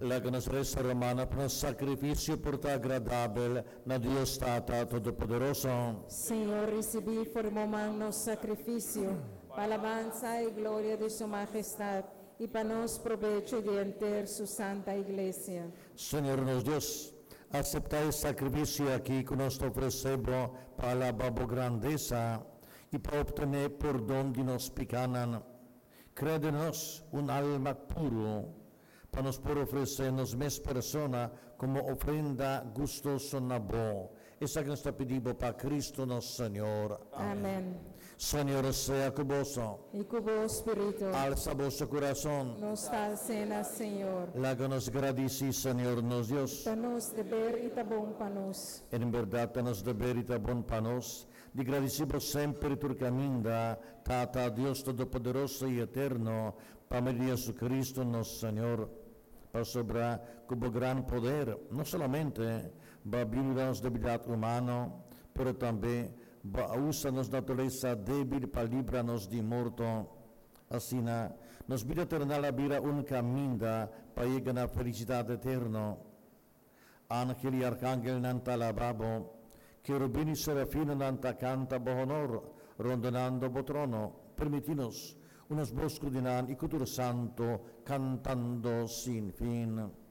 Laga nos resa, rumannan, pa nos sakrifisio por ta agradabel na Dios Tata Todopoderoso. Señor, risibí for di bo man nos sakrifisio, pa alabansa i gloria di su mahestat, i pa nos probecho i di henter su santa Iglesia. Señor nos Dios, aseptá e sakrifisio akí ku nos ta ofresé bo pa alabá bo grandesa i pa optené pordon di nos pikánan. Krea den nos un alma puru, pa nos por ofresé nos mes persona komo ofrenda gustoso na bo. Esaki nos ta pidi bo pa Kristu nos Señor. Amèn. Señor sea ku boso. I ku bo spiritu. Alsa boso kurason. Nos ta als'é na Señor. Laga nos gradisí Señor nos Dios. Ta nos deber i ta bon pa nos. En bèrdat ta nos deber i ta bon pa nos di gradisí bo semper i tur kaminda, Tata, Dios Todopoderoso i Eterno, pa medio di Jesucristo nos Señor. Pasobra ku bo gran poder, no solamente bo a biuda nos debilidat humano, pero tambe bo a usa nos naturalesa débil pa libra nos di morto. Asina, nos bida terenal a bira un kaminda pa yega na felisidat eterno. Ángel i arkangelnan ta alabá bo, kerubin i serafinonan ta kanta bo honor, rondonando bo trono. Permití nos, unos bos ku di nan i ku tur santu, kantando sin fin.